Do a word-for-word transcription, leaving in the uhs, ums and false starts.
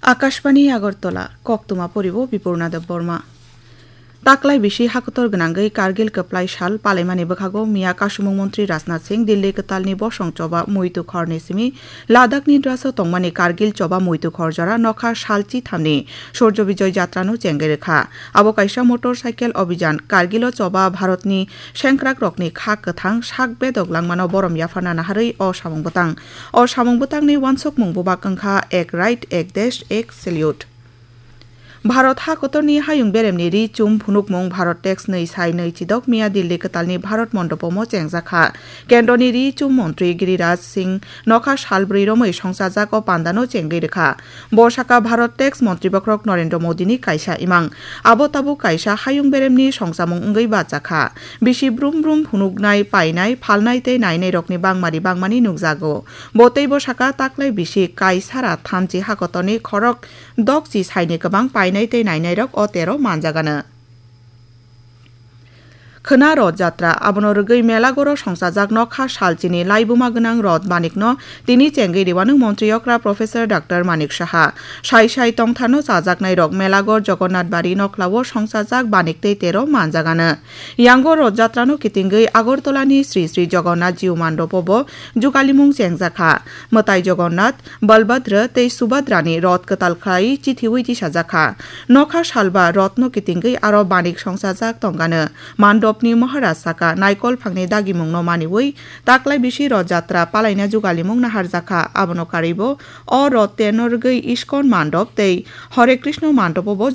Akashbani Agartala, koktwma poribo Bipurna Debbarma. Taklai bisi hakotor gwnangwi Kargil kwplai sal palaimani bwkhago miya kasumung montri Rajnath Singh Dilli kwtalni bosong choba muitu khorni simi Ladakhni draso tongmani Kargil choba muitu khor jora nokha sal chithamni Surjo Bijoy Jatrano chengwi rwkha. Abo kaisa motor cycle obijan Kargilo choba Bharatni sengkrakrokni kha kwthang sak bedok langmano borom yapharna naharwi o samung bwtang. O samung bwtangni uansukmung bubak wngkha Ek Right, Ek Desh, Ek Salute. Bharat hakotorni hayung beremni ri chum phunukmung Bharat Tex nwi sai nwi chidok miya Dilli kwtalni Bharat Mondopomo chengjakha. Kendroni ri chum montri Giriraj Singh nokha salbrwi romwi songchajak o pandano chengwi rwkha. Bo saka Bharat Tex montri bokhorok Narendra Modini kaisa imang. Abo tabuk kaisa hayung beremni songchamung wngwi bajakha. Bisi brum brum phunuknai, painai, phalnai tei nainairokni bangmari bangmani nukjago. Bo teibo saka taklai bisi kaisara thamchi hakotorni khorok dokchi saini kwbang painai tei nainairok o tero manjagano. Khwna Rod Jatra, abono rwgwi Melagoro songchajak nokha salchini laibuma gwnang Rod Banikno tini chengwi riwano montri okra Professor Doctor Manik Saha. Sai sai tongtharno chajaknairok Melagor Jagannath Bari noklao songchajak Banik tei tero manjagano. Yango Rod Jatrano kitingwi Agartalani Sri Sri Jagannath Jiu Mandopobo jugalimung chengjakha. Mwtai Jagannath, Balbhadra tei Subhadrani rot kwtal khlai chithiwi tisajakha. Nokha salba rotno kitingwi aro Banik songchajak tongano. Mandopni Maharaj saka naikol phangni dagimungno maniwi taklai bisi Rod Jatra palaina jugalimung naharjakha. Abono karwibo o rot terno rwgwi Iskon Mandop tei Hare Krishna Mandopobo